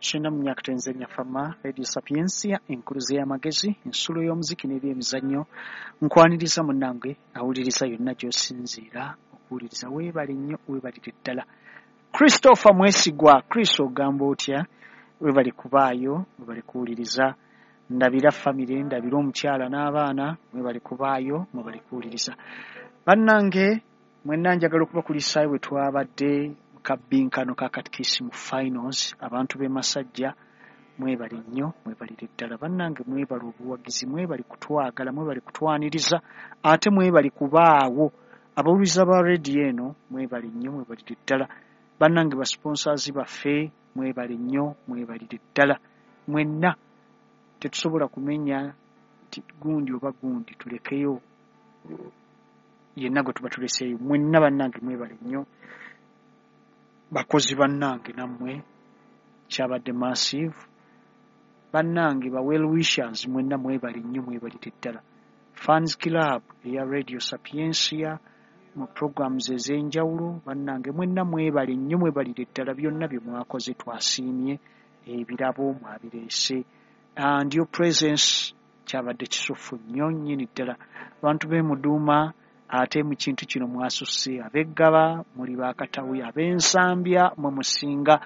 Kyenda mu myaka tenzenya fama Radio Sapientia, enkuluze y'amagezi, ensulo y'omuziki n'ebyemizannyo. Nkwaniriza munnange awuliriza yonna gy'osinziira okuwuliriza. Weebale nnyo, weebalire ddala. Christopher Mwesigwa, Chris ogamba otya? Weebale kubaayo, weebale kuwuliriza. Ndabira famire, ndabira omukyala n'abaana, mwebale kubaayo, mwebale kuwuliriza. Bannange mwenna njagala okubakulisaayo bwe twabadde mu kabbinkano ka katikisimu finals. Abantu b'e Masajja mwebale nnyo, mwebalire ddala. Bannange mwebale obuwagizi, mwebale kutwagala, mwebale kutwaniriza, ate mwebale kubaawo. Abawuliriza ba rediyo eno mwebale nnyo, mwebalire ddala. Bannange ba sponsors baffe mwebale nnyo, mwebalire ddala. Mwenna tetusobola kumenya nti gundi oba gundi, tulekeyo yenna gwe tuba tuleseeyo. Mwenna bannange mwebale nnyo, bakozi bannange nammwe kyabadde massive. Bannange ba well wishers mwenna mwebale nnyo, mwebalire ddala. Fans Club eya Radio Sapientia mu programs ez'enjawulo, bannange mwenna mwebale nnyo, mwebalire ddala. Byonna bye mwakoze twasiimye, ebirabo mwabireese, and your presence kyabadde kisufu nnyo nnyini ddala. Abantu b'e Muduuma ate mu kintu kino mwasusse, ab'eggaba muli bakatawi, ab'ensambya mwe musinga.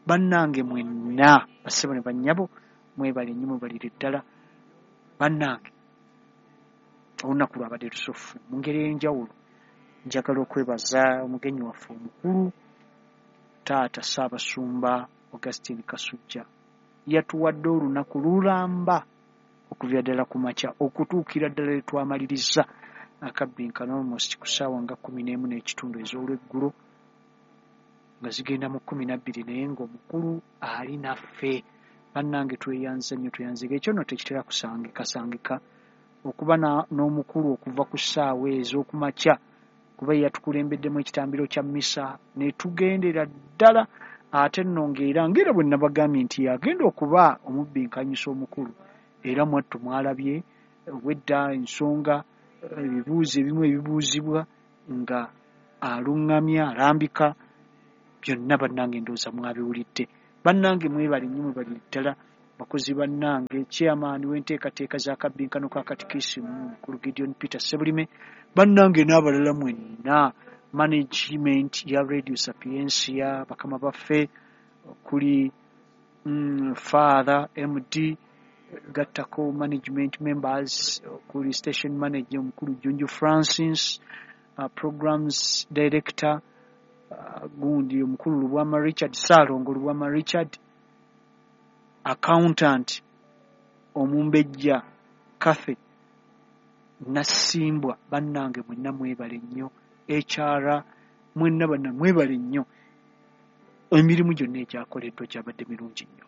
Bannange mwenna bassebo ne bannyabo mwebale nnyo, mwebalire ddala. Bannange olunaku lwabadde lusufu mu ngeri ey'enjawulo. Njagala okwebaza omugenyi waffe omukulu taata Ssaabasumba Augustine Kasujja. Yatuwadde olunaku lulamba okuviira ddala ku makya okutuukira ddala lwe twamaliriza akabbinkano almost ku ssaawa nga 11 n'ekitundu ez'olweggulo, nga zigenda mu 12, naye ng'omukulu ali naffe. Bannange tweyanze nnyo, tweyanzege. Ekyo nno tekitera kusangika okuba n'omukulu okuva ku ssaawa ez'okumakya, kuba ye yatukulembeddemu ekitambiro kya mmisa ne tugendera ddala. Ate nno ng'era ng'era bwe nabagambye nti yagenda okuba omubbinkanyisa omukulu, era mwattu mwalabye obwedda ensonga, ebibuuzo ebimu ebibuuzibwa nga aluŋŋamya, alambika byonna. Bannange ndowooza mwabiwulidde. Bannange mwebale nnyo, mwebalire ddala. Bakozi bannange, chairman w'enteekateeka za kabbinkano ka katikisimu mukulu Gideon Peter Ssebulime, bannange n'abalala mwenna, management ya Radio Sapientia, bakama baffe kuli Father MD, gattako management members kuli station manager omukulu Junju Francis, programs director, gundi omukulu Lubwama Richard, Ssaalongo Lubwama Richard, accountant omumbejja Cathy Nassimbwa. Bannange mwenna mwebale nnyo. HR mwenna banna mwebale nnyo. Emirimu gyonna egyakoleddwa gyabadde mirungi nnyo.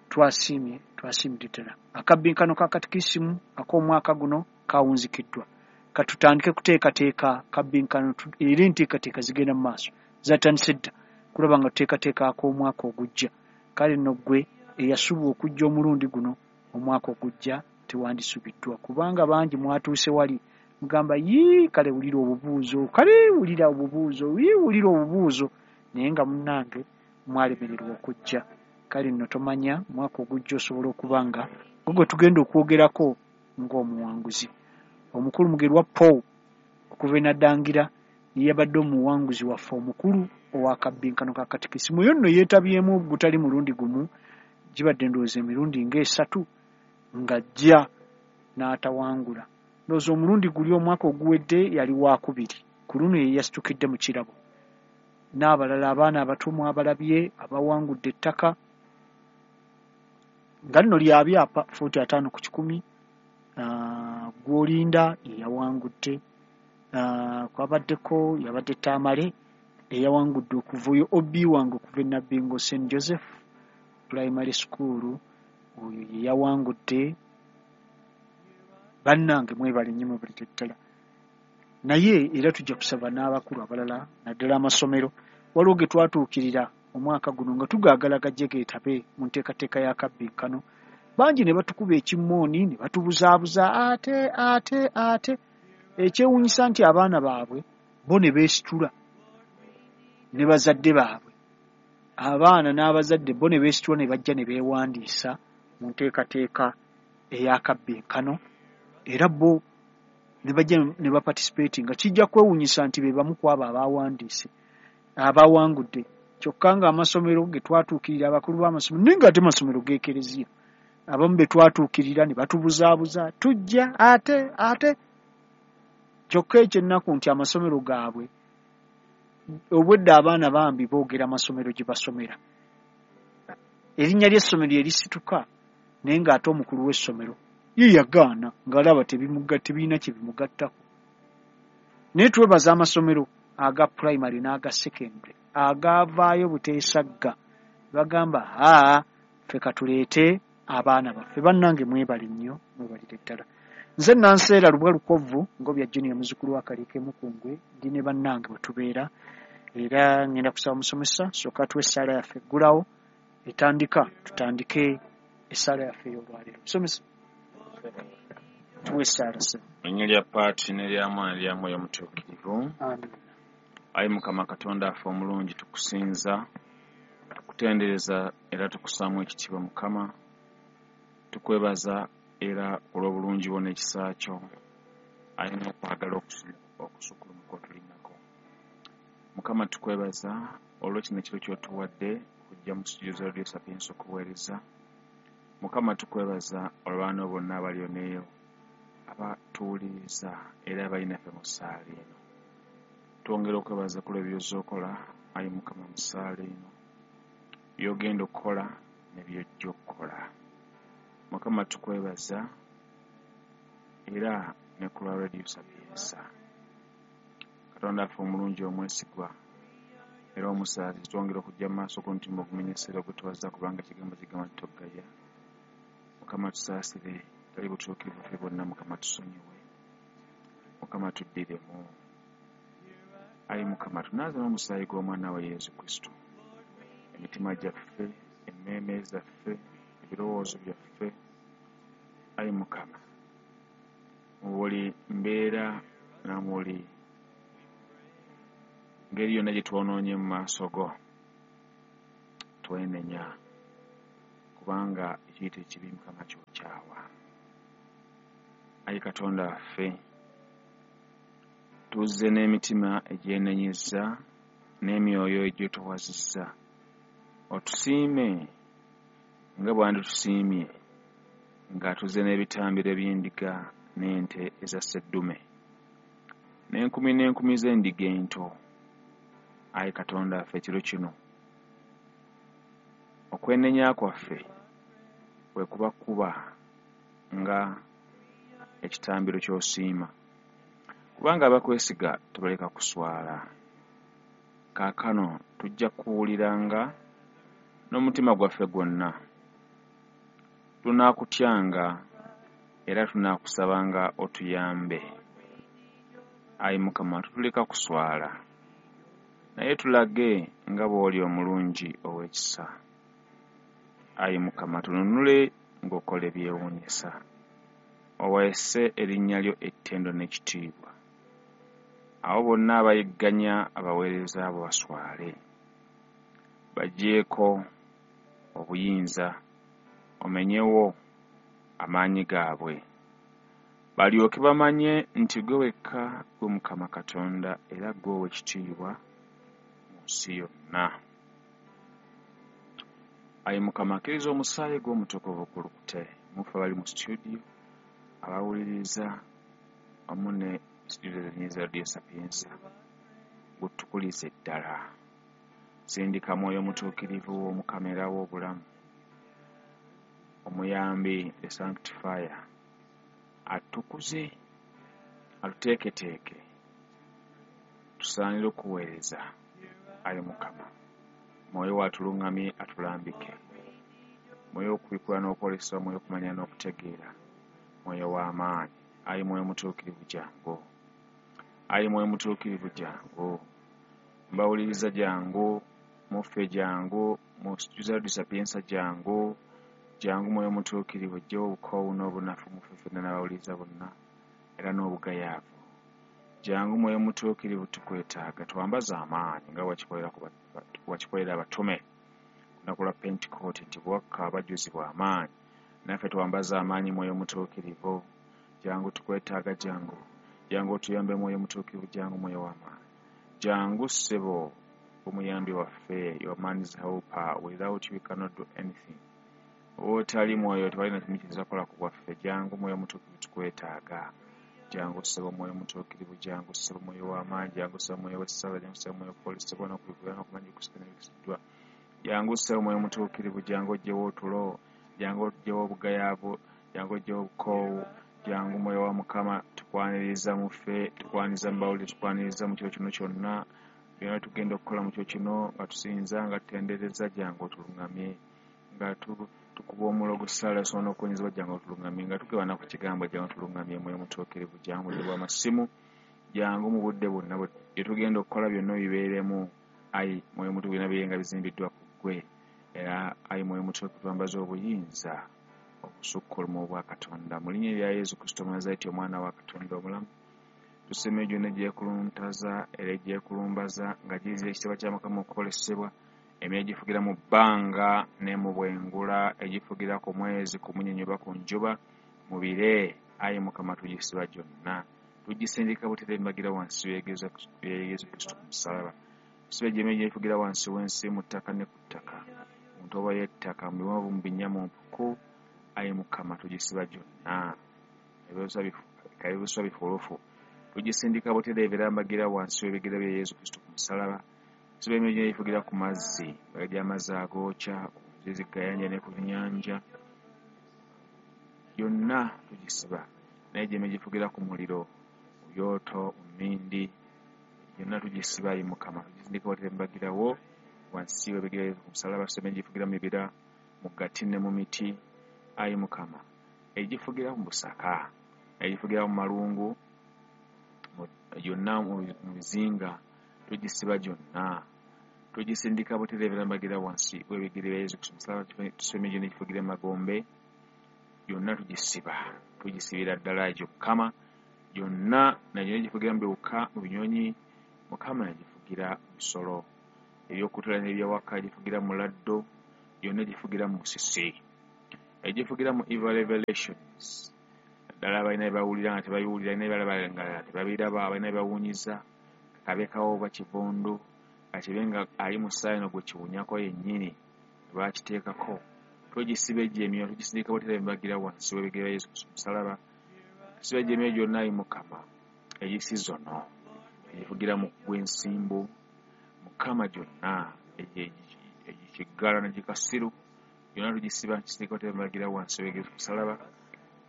Twasiimye, twasiimidde ddala. Akabbinkano ka katikisimu ak'omwaka guno kawunzikiddwa. Katutandike kuteekateeka kabbinkano, era enteekateeka zigenda mu maaso, zatandise dda kulaba nga tuteekateeka ak'omwaka ogujja. Kale nno ggwe eyasubwa okujja omulundi guno, omwaka ogujja tewandisubiddwa, kubanga bangi mwatuuse wali mugamba yii kale wulira obubuuzo, kale wulira obubuuzo, yii wulira obubuuzo, naye nga munnange mwalemererwa okujja. Kale nno tomanya mwaka ogujja osobola okuba nga gwe gwe tugenda okwogerako ng'omuwanguzi. Omukulu Mugerwa Paul okuva e Naddangira ye yabadde omuwanguzi waffe omukulu ow'akabbinkano ka katikisimu. Oyo nno yeetabyemu gutali mulundi gumu, gibadde ndowooza emirundi ng'esatu ng'ajja n'atawangula. Ndowooza omulundi guli omwaka oguwedde yali waakubiri, ku luno ye yasitukidde mu kirabo. N'abalala abaana abato mwabalabye abawangudde ettaka nga lino lya byapa fuuti 50 ku 100, Gwolinda ye yawangudde. Kwabaddeko yabadde Tamale eyawangudde okuva oyo OB wange okuva e Nabbingo St Joseph Primary School, oyo ye yawangudde. Bannange mwebale nnyo, mwebalire ddala. Naye era tujja kusaba n'abakulu abalala naddala amasomero. Waliwo ge twatuukirira omwaka guno nga tugaagala gajje geetabe mu nteekateeka ya kabbinkano, bangi ne batukuba ekimooni ne batubuzaabuza ate ate ate. Ekyewuunyisa nti abaana baabwe bo ne beesitula ne bazadde baabwe Abaana n'abazadde bo ne beesitula ne bajja ne beewandiisa mu nteekateeka ey'akabbinkano, era bo ne bajja ne baparticipatinga. Kijja kwewuunyisa nti be bamu ku abo abawandiise abawangudde, kyokka ng'amasomero ge twatuukirira, abakulu b'amasomero, naye ng'ate masomero g'ekereziya, abamu be twatuukirira ne batubuzaabuza, tujja ate ate. Kyokka ekyennaku nti amasomero gaabwe obwedda abaana bambi boogera amasomero gye basomera, erinnya ly'essomero erisituka, naye ng'ate omukulu w'essomero ye yagaana ng'alaba tebirina kye bimugattako. Naye twebaza amasomero aga primary n'aga secondary agaavaayo buteesagga, bagamba aa ffe katuleete abaana baffe. Bannange mwebale nnyo, mwebalire ddala. Nze Nanseera Lubwa Lukovvu Ngobya Junior, muzzukulu wa Kaliike Mukungwe, ndi ne bannange bwe tubeera, era ngenda kusaba musomesa sooka tuwe essaala yaffe eggulawo etandika, tutandike essaala yaffe ey'olwaleero. Musomesa, tuwe essaala ssebo. Erinnya lya Paati n'erya Mwana n'erya Mwoyo Mutuukirivu. Amiina. Ayi Mukama Katonda affe omulungi, tukusinza, tukutendereza era tukussaamu ekitiibwa. Mukama, tukwebaza era olw'obulungi bwo n'ekisa kyo, ayi n'okwagala okusukkulumu kw'otulinako. Mukama, tukwebaza olw'ekino ekiro ky'otuwadde okujja mu studio za Radio Sapientia okuweereza. Mukama, tukwebaza olw'abaana bonna abali oneeyo abatuwuliriza era abali naffe mu ssaala eno. Twongera okwebaza ku lw'ebyo okola, ayi Mukama, mu ssaala eno, by'ogenda okukola ne by'ojja okukola. Mukama, tukwebaza era ne ku lwa Radio Sapientia. Katonda affe omulungi omwesigwa era omusaasizi, twongera okujja mu maaso g'omutima ogumenyesera ogutwaza, kubanga ekigambo kigamba nti togaya. Mukama, tusaasire, tali butuukirivu ffe bonna. Mukama, tusonyiwe. Mukama, tuddiremu. Ayi Mukama, tunaaze n'omusaayi gw'omwana we Yesu Kristo emitima gyaffe, emmeeme zaffe, ebirowoozo byaffe. Ayi Mukama, mu buli mbeera na buli ngeri yonna gye twonoonye mu maaso go, twenenya, kubanga ekiyita ekibi Mukama kyokyawa. Ayi Katonda waffe, tuzze n'emitima egyenenyezza n'emyoyo egyetowazizza. Otusiime nga bw'anditusiimye nga tuzze n'ebitambiro eby'endiga n'ente eza sseddume n'enkumi n'enkumi z'endiga ento. Ayi Katonda waffe, ekiro kino okwenenya kwaffe bwe kuba kuba nga ekitambiro ky'osiima, kubanga abakwesiga tebaleka kuswala. Kaakano tujja kuwuliranga n'omutima gwaffe gwonna, tunaakutyanga era tunaakusabanga otuyambe. Ayi Mukama, tutuleka kuswala, naye tulage nga bw'oli omulungi ow'ekisa. Ayi Mukama, tununule ng'okola ebyewuunyisa, oweese erinnya lyo ettendo n'ekitiibwa. Abo bonna abayigganya abaweereza abo baswale, baggyeko obuyinza, omenyewo amaanyi gaabwe, balyoke bamanye nti ggwe wekka ggwe Mukama Katonda era ggwe ow'ekitiibwa mu nsi yonna. Ayi Mukama, akkiriza omusaayi gwo omutukuvu gulukute mu ffe abali mu studio, abawuliriza wamu ne studio zennyini za Radio Sapientia, gutukulize ddala. Sindika Mwoyo Mutuukirivu w'Omukama era w'obulamu, omuyambi, the sanctifier, atukuze, atuteeketeeke tusaanire okuweereza. Ayi Mukama, Mwoyo atuluŋŋamye, atulambike, Mwoyo okubikula n'okwolesebwa, Mwoyo okumanya n'okutegeera, Mwoyo w'amaanyi. Ayi Mwoyo Mutuukirivu, jangu. Ayi Mwoyo Mutuukirivu, jangu. Mbawuliriza, jangu. Muffe, jangu. Mu Radio Sapientia, jangu. Jangu Mwoyo Mutuukirivu, ojjewo obukoowu n'obunafu muffe ffenna n'abawuliriza bonna era n'obugayaavu. Jangu Mwoyo Mutuukirivu, tukwetaaga, twambaze amaanyi nga wakikolera abatume. Lunaku lwa Pentekooti nti bwakka abajjuzibwa amaanyi, naffe twambaze amaanyi Mwoyo Mutuukirivu. Jangu tukwetaaga, jangu, jangu otuyambe Mwoyo Mutuukirivu, jangu Mwoyo w'amaanyi, jangu ssebo omuyambi waffe. Your man is helper, without you we cannot do anything. Otali Mwoyo tewali kimu kiyinza kukola ku bwaffe. Jangu Mwoyo Mutuukirivu, tukwetaaga. Jangu ssebo Mwoyo Mutuukirivu, jangu ssebo Mwoyo w'amaanyi, jangu ssebo Mwoyo w'essala, jangu ssebo Mwoyo okwolesebwa n'okubikkulirwa n'okumanya okusikana ebikisiddwa. Jangu ssebo Mwoyo Mutuukirivu, jangu oggyewo otulo, jangu oggyewo obugayaavu, jangu oggyewo obukoowu. Jangu Mwoyo wa Mukama, tukwaniriza mu ffe, tukwaniriza mu bawulire, tukwaniriza mu kiro kino kyonna. Byonna tugenda okukola mu kiro kino nga tusinza, nga tutendereza, jangu otuluŋŋamye. Nga tukuba omulogo ssaala osobola n'okuwonyezebwa, jangu otuluŋŋamye. Nga tugabana ku kigambo, jangu otuluŋŋamye. Mwoyo Mutuukirivu, jangu mu budde bw'amasimu, jangu mu budde bwonna bye tugenda okukola byonna obibeeremu. Ayi Mwoyo Mutuukirivu, byonna bibe nga bizimbiddwa ku ggwe. Era ayi Mwoyo Mutuukirivu, twambaze obuyinza okusukkuluma obwa Katonda. Mu linnya erya Yesu Kristo Omunazareti, Omwana wa Katonda omulamu, tusima egyo gyonna egyekuluntaza era egyekulumbaza nga giyizira ekitiibwa kya Mukama okukolesebwa, emyoyo egifugira mu bbanga ne mu bwengula, egifugira ku mwezi, ku munyonyi oba ku njuba, mu bire. Ayi Mukama, tugisiba gyonna, tugisindika butereevu mbagira wansi w'ebigere bya Yesu Kristo ku musalaba. Tusiba egyo emyoyo egyefugira wansi w'ensi, mu ttaka ne ku ttaka, mu ntobo y'ettaka, mu biwonvu, mu binnya, mu mpuku. Ayi Mukama, tugisiba gyonna, ebiswa bifulufu, tugisindika butereevu era mbagira wansi w'ebigere bya Yesu Kristo ku musalaba. Tusiba emyoyo egyefugira ku mazzi, gy'amazzi agookya, ku nzizi gayanja ne ku nnyanja, yonna tugisiba. Naye gy'emyoyo egifugira ku muliro, mu byoto, mu mmindi, yonna tugisiba. Ayi Mukama, tugisindika butereevu mbagirawo wansi w'ebigere ku musalaba. Tusiba emyoyo egifugira mu bibira, mu gati ne mu miti. Ayi Mukama, egifugira mu busaka, egifugira mu malungu, yonna mu bizinga, tugisiba gyonna, tugisindika butereevu mbagira wansi w'ebigere bya Yesu Kristo musalaba. Tusiba emyoyo gyonna egifugira mu magombe, yonna tugisiba, tugisibira ddala egyo Mukama. Yonna nagyonna egifugira mu biwuka, mu binyonyi, Mukama, egifugira mu bisolo ebyokutula n'ebyawaka, egifugira mu laddo, yonna egifugira mu musisi, egifugira mu evil revelations, ddala abalina bye bawulira nga tebabiwulira, alina bye balaba nga tebabiraba, abalina bye bawunyiza, kabekawo oba kivundu, kakibe nga ali mu ssaawa eno gwe kiwunyako yennyini lwakiteekako. Tugisiba egyo emyoyo, tugisindika butereevu mbagira wansi w'ebigere bya Yesu Kristo musalaba. Tusiba egyo emyoyo gyonna, ayi Mukama, egisizono, egifugira mu gw'ensimbu, Mukama, gyonna egikiggala negikasiru, byonna tugisiba, kisindika butereevu mbagira wansi w'ebigere musalaba.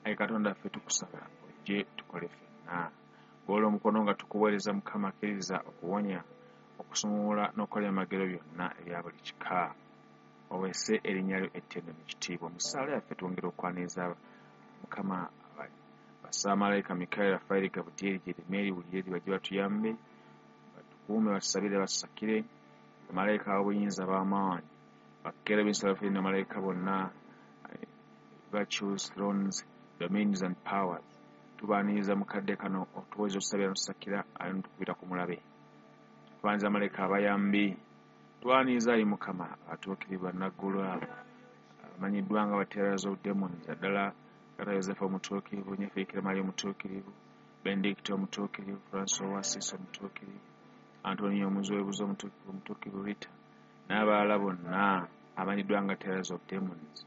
Ayi Katonda ffe, tukusaba ojje tukole ffenna. Golola omukono nga tukuweereza Mukama, akkiriza okuwonya, okusumulula n'okukola ebyamagero byonna ebya buli kika, oweese erinnya lyo ettendo n'ekitiibwa. Mu ssaala yaffe twongera okwaniriza Mukama basamalayika Mikayiri, Rafaeri, Gabudyeri, Jeremeri, Uliyeri, bajje batuyambe, batukuume, batusabire, batusakire. Bamalayika ab'obuyinza b'amaanyi, bakerubi, serafini, bamalayika bonna, virtues, thrones, dominions and powers, tubaaniriza mu kadde kano otuweza otusabira notusakira ate notukubira ku mulabe. Twaniriza malayika abayambi, twaniriza ayi Mukama abatuukirivu bannaggulu abo abamanyiddwa nga ba terrors of demons, naddala Kata Yosefu omutuukirivu, Nnyaffe Bikira Maria omutuukirivu, Benedicto omutuukirivu, Francis Ow'Assisi omutuukirivu, Antonio Omuziwebuzi omutuukirivu, omutuukirivu Rita, n'abalala bonna abamanyiddwa nga terrors of demons.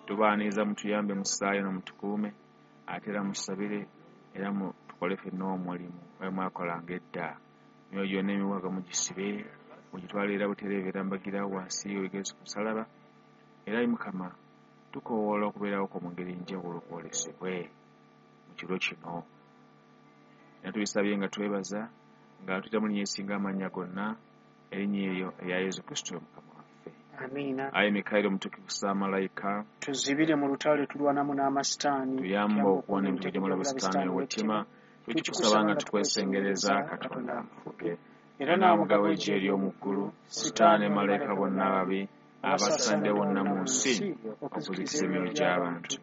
Tubaaniriza, mutuyambe mu ssaayo n'omutukuume, ate era musabire era tukole ffenna omulimu nga mwakolanga edda. Emyoyo gyonna emiwaga mugisibe, mugitwale era butereevu era mbagirawo wansi w'ebigere ku musalaba. Era ayi Mukama, tukoowoola okubeerawo kwo mu ngeri enjawulo kwolesebwe mu kiro kino. Era tubisabye nga twebaza nga tuyita mu linnya erisinga amannya gonna, erinnya eryo erya Yesu Kristo Mukama waffe. Amiina. Ayi Mikayiri omutuukirivu ssaamalayika, tuzibire mu lutalo lwe tulwanamu n'amasitaani, tuyambe okuwona emitego gy'omulabe Sitaani ow'ettima. Tukikusaba nga tukwesengereza, Katonda amufuge. Era era n'omugabo w'eggye ery'omu ggulu, Sitaani ne malayika bonna ababi abasaasaanidde wonna mu nsi okuzikiza emyoyo gy'abantu.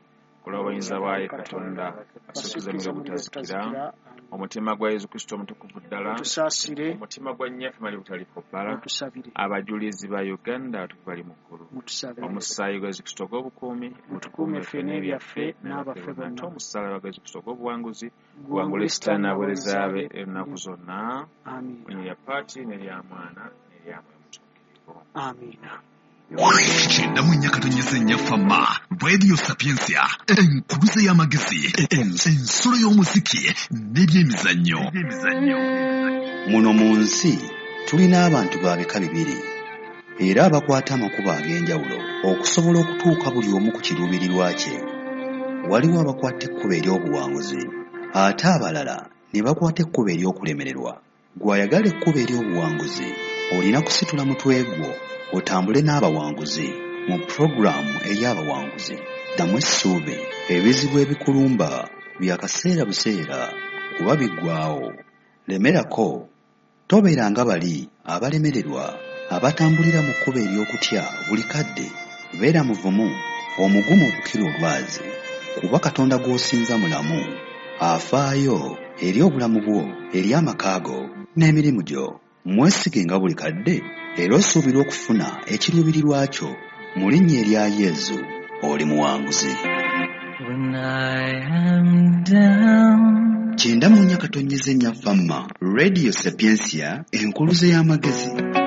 Olw'obuyinza bwa ye Katonda asuukiza mu butazikira, omutima gwa Yesu Kristo omutukuvu ddala, otusaasire, omutima gwa nnyaffe Maria obutaliiko bbala, otusabire, abajulizi ba Uganda abatukuvu bali mu ggulu, mutusabire, omusaayi gwa Yesu Kristo ogw'obukuumi mutukuume ffe n'ebyaffe n'abaffe ate bonna, omusaalaba gwa Yesu Kristo ogw'obuwanguzi guwangule guwangule Sitaani Sitaani n'abaweereza n'abaweereza be be ennaku zonna, Amiina. mu linnya lya Paati n'erya Mwana n'erya Mwoyo Mutuukirivu. Amiina. 94.4 Fama Radio Sapientia, enkuluze y'amagezi, ensulo y'omuziki n'ebyemizannyo. Muno mu nsi tulina abantu ba bika bibiri era abakwata amakubo ag'enjawulo okusobola okutuuka buli omu ku kiruubirirwa kye. Waliwo abakwata ekkubo ery'obuwanguzi ate abalala ne bakwata ekkubo ery'okulemererwa. Gw'ayagala ekkubo ery'obuwanguzi olina kusitula mutwe gwo otambule n'abawanguzi mu pulogulaamu ey'abawanguzi. Ddamu essuubi, ebizibu ebikulumba bya kaseera buseera kuba biggwaawo. Lemerako, tobeera nga bali abalemererwa abatambulira mu kkubo ery'okutya buli kadde. Beera muvumu, omugumu okukira olwazi, kuba Katonda gw'osinza mulamu, afaayo eri obulamu bwo, eri amaka go n'emirimu gyo. Mwesige nga buli kadde era osuubirwa okufuna ekiruubirirwa kyo. Mu linnya erya Yesu, oli muwanguzi. When I am down. 94.4 Fama, Radio Sapientia, enkuluze y'amagezi.